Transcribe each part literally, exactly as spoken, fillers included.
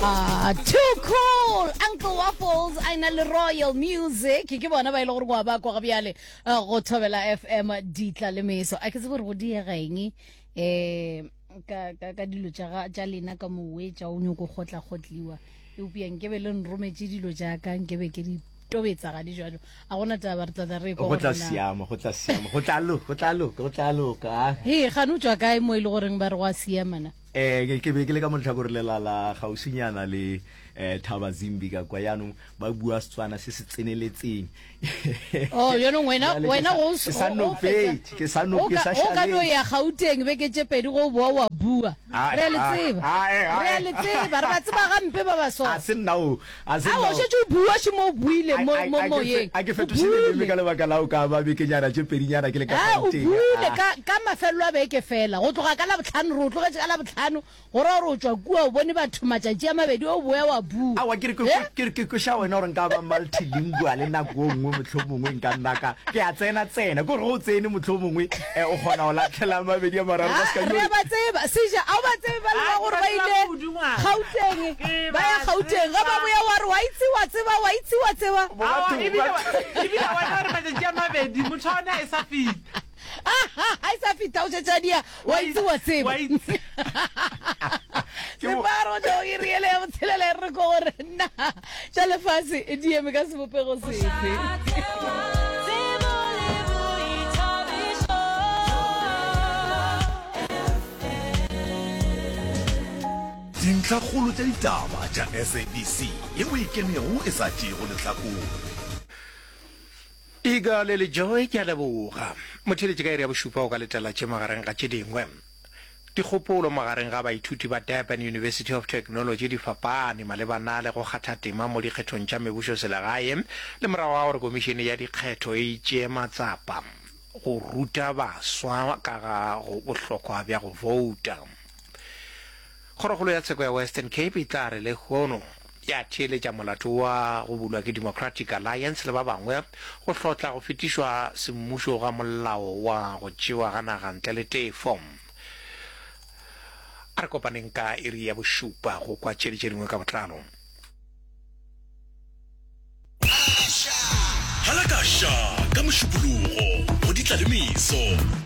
Ah, too cool Uncle Waffles a ena le Royal Music ke bona ba e le gore kwa ba kwa ga bjale eh, go thobela F M ditla le meso. A ke tsebe gore go diega eng um ka ka ka dilo tša ga- tša lena ka mowe tša o nyoko kgotla kgotliwa, eupša nkebe le nrometše dilo tša ka, nkebe ke di tobetsa ga di jalo. A gona taba, re tlatla re kwa Go tla gore na siama, go tla siama, go tla loka, go tla loka, go tla loka. He gane o tšwa kae mo e le goreng ba re go a siamana? Eh ke ke be ke le ka mo letlhakore lela la gausinyana le eh Thaba Zimbi ka kwa, yaanong ba bua Setswana se se tseneletseng. Oh, jaanong wena Jwale ke wena sa go ke sa o fetsa nopetše, ke sa no o ke ka sa o ka no šaletše. Ya Gauteng beke tše pedi, go boa wa bua. Ai Re a le ai tseba, ai re a ai le tseba, re ba tseba gampe ba ba so. A se nna o, a se Aowa, nna o o. šetše o bua, šemo o buile A mo a mo a ke fe moyeng. a ke O fetoše leleme buile. ka lebaka la o ka ba bekenyana tše pedinyana ke le ka A o Gauteng. buile Ah. ka ka mafelelo a beke fela, go tloga ka Labohlano, re o tlogetše ka Labohlano, go ra gore o tšwa kua o bone batho matšatši a mabedi, o boya wa bua. Aowa, ke re ke Eh? ke ke kweša wena gore nka ba multilingual nako e nngwe, mohlomongwe nka nna ka ke a tsena tsena, ke gore ge o tsene mohlomongwe eh, o kgona go latlhela mabedi a mararo ba Ah, se ka re yo a ba tseba seja, a o ba tsebe ba le ba Ah, ke gore ba ba tseba ile kudu ngwana. Gauteng, Ke ba ya ba Gauteng, ge ba tseba. boya wa re wa itse wa tseba wa itse wa tseba. Bo Aowa, batho ebile ba wa- ebile wa bona gore matšatši a mabedi motho wa ona e sa feta. Ga e sa feta o šetše a dia wa Wa itse wa tseba. Wa itse. Ke bo Separo jo e riele ya botshelela e re ko gore nna tša lefase di eme ka sebopego sefe. Tsebo le boithabišo. Dintlhakgolo tša ditaba tša S A B C yeo e kenego e sa tšeego lehlakore. Igale le Joy, ke a leboga. Motheeletši, ka iri ya bošupa o ka letela tše magareng ga tše dingwe. Dikgopolo magareng ga baithuti ba Durban University of Technology di fapane malebana le go kgatha tema mo dikgethong tša mebušoselegae le morago ga gore komišene ya dikgetho e tšee matsapa go ruta baswa ka ga go bohlokwa bja go bouta. Kgorokgolo ya tsheko ya Western Cape e tla re lehono ya theeletša molato wa go bulwa ke Democratic Alliance le ba bangwe go hlotla go fetišwa semmušo ga molao wa go tšewa ga naga ntle le tefo. A re kopaneng ka iri ya bošupa go kwa tše le tše dingwe ka botlalo. Halakaša ka Mošupologo go Ditla le Meso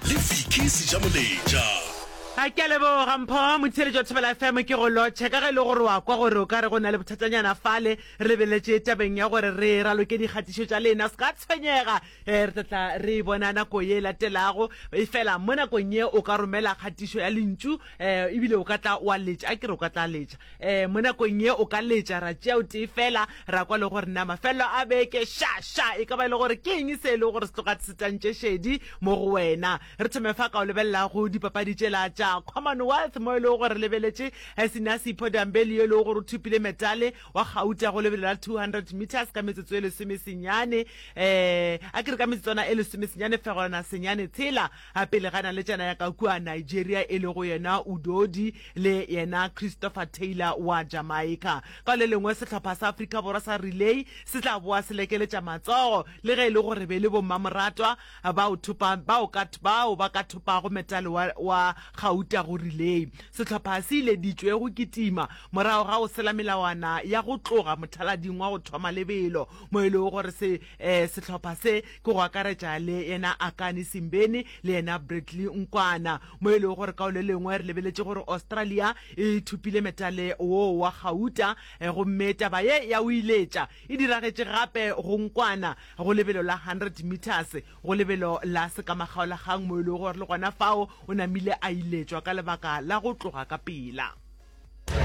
le Vicky Sejamoletša. A ke a leboga Mpho, motheeletši wa Thobela F M, ke go lotšhe ka ge e le gore wa kwa gore o ka re go na le bothatanyana fale re lebeletše tabeng ya gore re raloke dikgatišo tša lena. Se ka tshwenyega, eh, re tla tla re e bona nako ye e latelago. Efela mo nakong ye o ka romela kgatišo ya lentšu, eh, ebile o ka tla wa letša, a ke re o ka tla letša, eh, mo nakong ye o ka letša ra tšea o tee fela ra kwa le gore na mafelelo a beke ša ša e ka ba e le gore ke eng se e le gore se tloga se tantše šedi mo go wena. Re thome fa ka o lebelela go dipapadi tšela tša Commonwealth, mo e lego gore re lebeletše Sinasipho Dambeli yo e lego gore o thopile metale wa gauta go lebelo la two hundred meters ka metsotso e lesomesenyane, um a ke re ka metsotswana e lesomesenyane fegolana senyane tshela pele ga naletšana ya ka kua Nigeria e lego yena Udodi le yena Christopher Taylor wa Jamaica. Ka le lengwe, sehlopha sa Afrika Borwa sa relay se tla boa se lekeletša matsogo le ge e le gore be le bommamoratwa bao thopa bao ka bao ba ka thopago metale wa, wa gauta go relay. Sehlopha se ileditšwe go kitima morago ga go sela melawana ya go tloga mothalading wa go thoma lebelo, mo e lego gore se eh, sehlopha se ke go akaretša le yena Akani Simbeni le yena Bradley Nkwana, mo e lego gore ka le lengwe re lebeletše gore Australia e thopile metale wo wa gauta, eh, gomme taba ye ya o iletša e diragetše gape go Nkwana go lebelo la hundred meters go lebelo la sekamakgaolakgang, mo e lego gore le gona fao o namile a iletšwa ka lebaka la go tloga ka pela.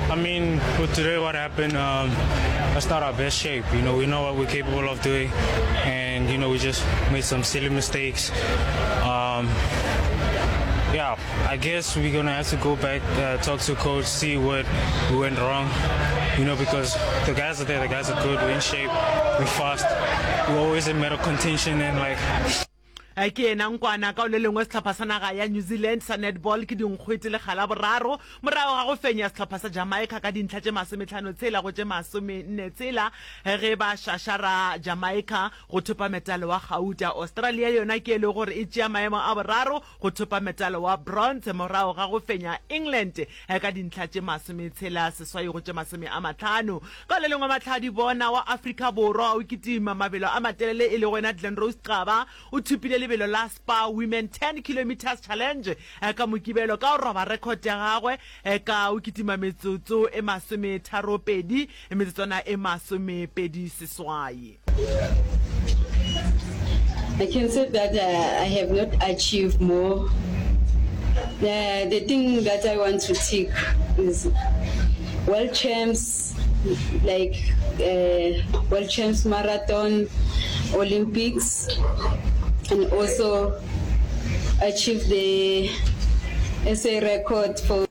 I mean, with today what happened, um, that's not our best shape. You know, we know what we're capable of doing, and you know, we just made some silly mistakes. Um, yeah, I guess we're gonna have to go back, uh, talk to coach, see what we went wrong. You know, because the guys are there, the guys are good, we're in shape, we're fast, we're always in medal contention, and like. Ke yena nkwana ka le lengwe sehlopha sa naga ya New Zealand sa netball ke dinkgwete lekga la boraro morago ga go fenya sehlopha sa Jamaica ka dintlha tše masometlhano tshela go tše masomenne tshela ge ba šašara Jamaica go thopa metale wa gauta. Australia yona ke e le gore e tšea maemo a boraro go thopa metale wa bronze morago ga go fenya England ka dintlha tše masometshela seswai go tše masome a mahlano. Ka le lengwe mahlwadibona wa Afrika Borwa o kitima mabelo a matelele e lego yena Glenrose Xaba o thopile lebelo la Spar Women ten Kilometres Challenge ka Mokibelo ka go roba rekhot ya gagwe ka o kitima metsotso e masometharopedi metsotswana e masomepedi seswai. I can say that uh, I have not achieved more. Uh, the thing that I want to tick is world champs, like uh, world champs marathon, Olympics, and also achieve the S A record for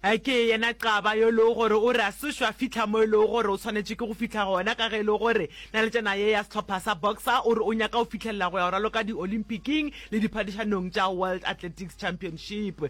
Ke yena Xaba yo e lego gore o re a sešo a fihla mo e lego gore o swanetše ke go fihla gona ka ge e le gore naletšana ye ya sehlopha sa boxer o re o nyaka go fihlelela go ya go raloka di-Olympiking le diphadišanong tša World Athletics Championship.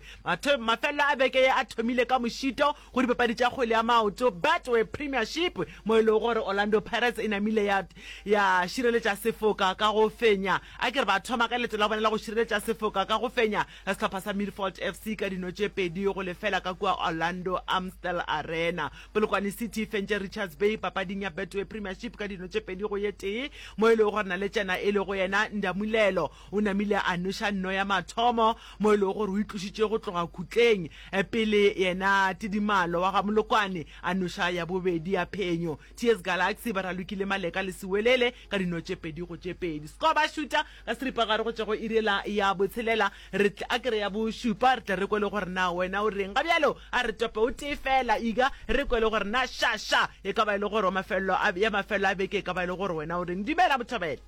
Mafelelo a beke ye a thomile ka mošito go dipapadi tša kgwele ya maoto Betway Premiership mo e lego gore Orlando Pirates e namile ya ya šireletša sefoka ka go fenya a ke re ba thoma ka leeto la bona la go šireletša sefoka ka go fenya Sehlopha sa Milford F C ka dino tše pedi go lefela ka kua Orlando Amstel Arena. Polokwane City e fentše Richards Bay papading ya Betway Premiership ka dino tše pedi go ye tee, mo e lego gore naletšana e lego yena Ndamulelo o namile a noša nno ya mathomo mo e lego gore o itlošitše go tloga khutleng pele yena Tidimalo wa ga Molokwane a noša ya bobedi ya phenyo. T S Galaxy ba ralokile Maleka le Siwelele ka dino tše pedi go tše pedi. Score ba šuta ka seripagare go tšwa go iri yela ya botshelela, re tle, a ke re ya bošupa, re tle re kwe le gore na wena o reng. Ga bjalo a re tope o tee feela, Iga, re kwe le gore na ša, ša e ka ba e le gore wa mafelelo a, ya mafelelo a beke e ka ba e le gore wena o reng. Dumela, Bothobela.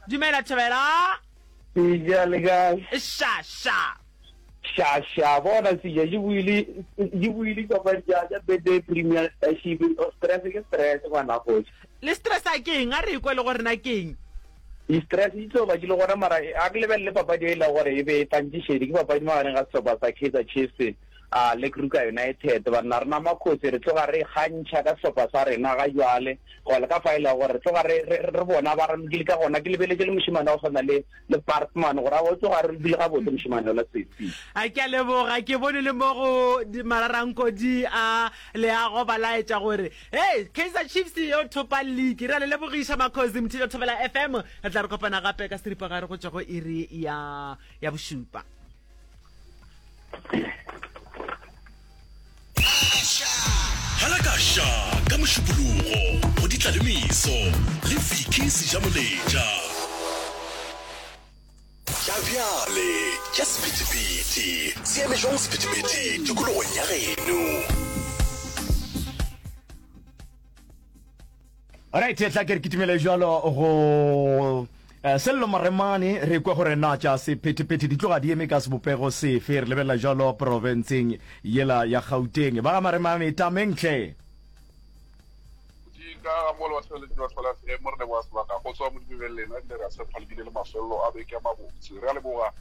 Dumela, Thobela. Seja le kae? Ša, ša. Ša, ša, bona Seja, di buile, di buile dipapadi tša, tša Betway Premiership, stress ke stress ngwana kgoši. Le stressa ke eng? A re kwe le gore na ke eng. Di-stress di tlo ba di le gona mara a ke lebelele papadi e lego gore e be e tlantše šedi, ke papadi magareng ga sehlopha sa Kaizer Chiefs a le Kruger United. Banna rena Makhosi re tloga re ikgantšha ka sehlopha sa rena ga jwale goba le ka fa e lego gore re tloga re, re, re bona ba ralokile ka gona. Ke lebeletše le mošemane wa go swana le, le Baartman gore a o tloga a ralokile gabotse mošemane yola sesi. A ke a leboga, ke bone le mo go mararankodi a leago ba laetša gore Hei, Kaizer Chiefs yo thopa league. Re a le lebogiša Makhosi Mthijo Thobela F M. Re tla re kopana gape ka seripagare go tšwa go iri ya ya bošupa. Halakaša ka Mošupologo go Ditlalemeso le Vicky Sejamoletša. Tša bjale tša sephethephethe se eme jwang sephethephethe tikologong ya geno? Alright, tla ke re kitimele jalo go eh, Sello Maremane re kwe gore na tša sephethephethe di tloga di eme ka sebopego sefe. Re lebelela jalo profenseng yela ya Gauteng. Ba ga Maremane tameng hle. Di ka ga mo le batheeletši ba Thobela F M, re leboga sebaka go tswa mo dibebeng lena, ebile re a tshepa le bile le mafelelo a beke a mabotse. Re a leboga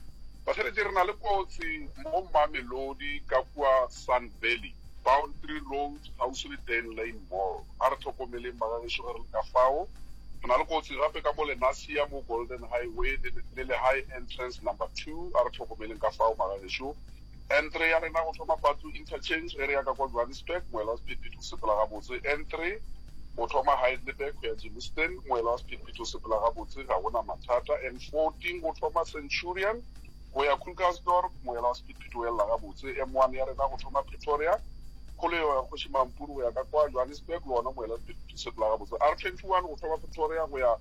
batheeletši. Re na le kotsi mo Mamelodi ka kua Sun Valley, Boundary Road, kgauswi le Dane Lane Mall. A re hlokomeleng bagagešo ge re le ka fao. Re na le kotsi gape ka mo Lenasia mo Golden Highway le, le Lehae Entrance Number Two. A re hlokomeleng ka fao magagešo. N three ya rena go thoma Patlu Interchange ge re ya ka kwa Johannesburg, moela wa sephethephethe o sepela gabotse. N three go thoma Heidelberg go ya Germiston, moela wa sephethephethe o sepela gabotse, ga go na mathata. N fourteen go thoma Centurion go ya Krugersdorp, moela wa sephethephethe o elela gabotse. M one ya rena go thoma Pretoria, kgolego ya Kgoši Mampuru go ya ka kwa Johannesburg, le wona moela wa sephethephethe o sepela gabotse. R twenty one go thoma Pretoria go ya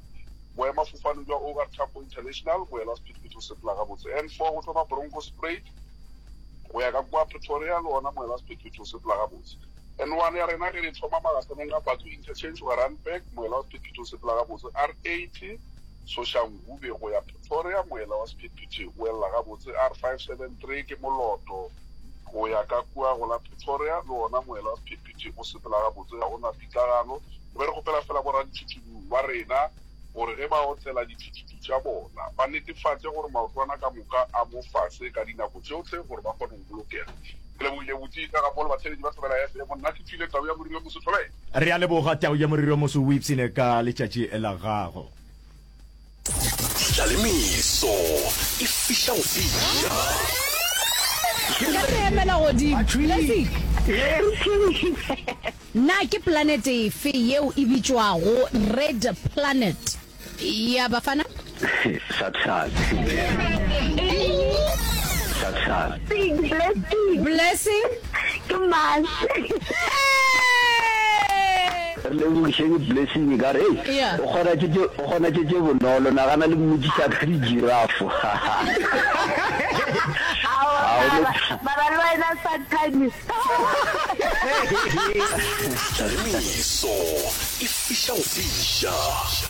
Boemafofaneng bja O R Tambo International, moela wa sephethephethe o sepela gabotse. N four go thoma Bronkhorstspruit go ya ka kua Pretoria, le wona moela wa sephethephethe o sepela gabotse. N one ya rena ge re thoma magahlanong a Bathu Interchange go ya Randburg, moela wa sephethephethe o sepela gabotse. R eighty Soshanguve go ya Pretoria, moela wa sephethephethe o elela gabotse. R five seven three ke Moloto go ya ka kua go la Pretoria, le wona moela wa sephethephethe o sepela gabotse, ga go na pitlagano. Re be re kgopela fela boraditšhutšhubu ba rena gore ge ba otlela dithuthuthu tša bona ba netefatše gore maotwana ka moka a mo fase ka dinako tšohle gore ba kgone go bolokega. Ke lebogile botši ka ga polo batheeletši ba Thobela F M. Nna ke tšwile Tau ya Moriri o Moso Thobela. Re a leboga Tau ya Moriri o Moso o ipshine ka letšatši la gago. Ditla le meso e fiša go fiša. Ka re emela godimo. Blessing. Na ke planete efe yeo e bitšwago Red Planet? Ya Bafana? Sathane. Sathane. Blessing. Blessing. Ke Mars. Re lebogišeng Blessing ka re, Hei, Yeah. o kgona tše tše, o kgona tše tše bonolo, nagana le mmotšiša ka dijirafo. Aowa, Ga o mara, no- mara le wena Sathane. Tlalemeso e fiša go fiša.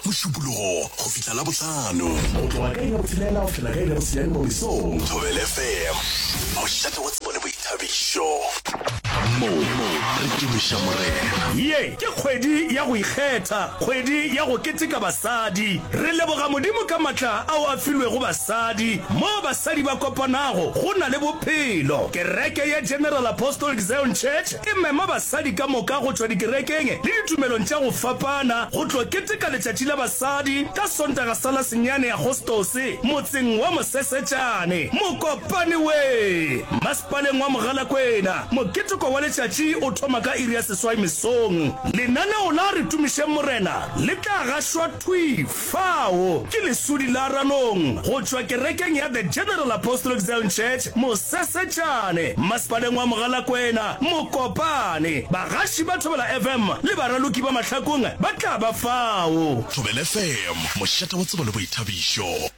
Mošupologo go fihla Labohlano. Go tloga ka iri ya botshelela go fihla ka iri ya bosenyane mo mesong. Thobela F M, mošate wa tsebo le boithabišo. Mo re tumiša Morena. Ye ke kgwedi ya go ikgetha, kgwedi ya go keteka basadi. Re leboga Modimo ka matla ao a filwego basadi. Moo basadi ba kopanago, go na le bophelo. Kereke ya General Apostolic Zion Church e mema basadi ka moka go tšwa dikerekeng le ditumelong tša go fapana go tlo keteka Letšatši la Basadi ka Sontaga sa la senyane Agostose motseng wa Mosesetšane, Mokopane we! Masepaleng wa Mogalakwena. Moketeko wa letšatši o thoma ka iri ya seswai mesong. Lenaneo la Re Tumišeng Morena le tla gašwa thwi fao ke Lesodi la Ranong go tšwa kerekeng ya The General Apostolic Zion Church, Mosesetšane, Masepaleng wa Mogalakwena, Mokopane. Bagaši ba Thobela F M le baraloki ba Mahlakong ba tla ba fao. Thobela F M, mošate wa tsebo le boithabišo.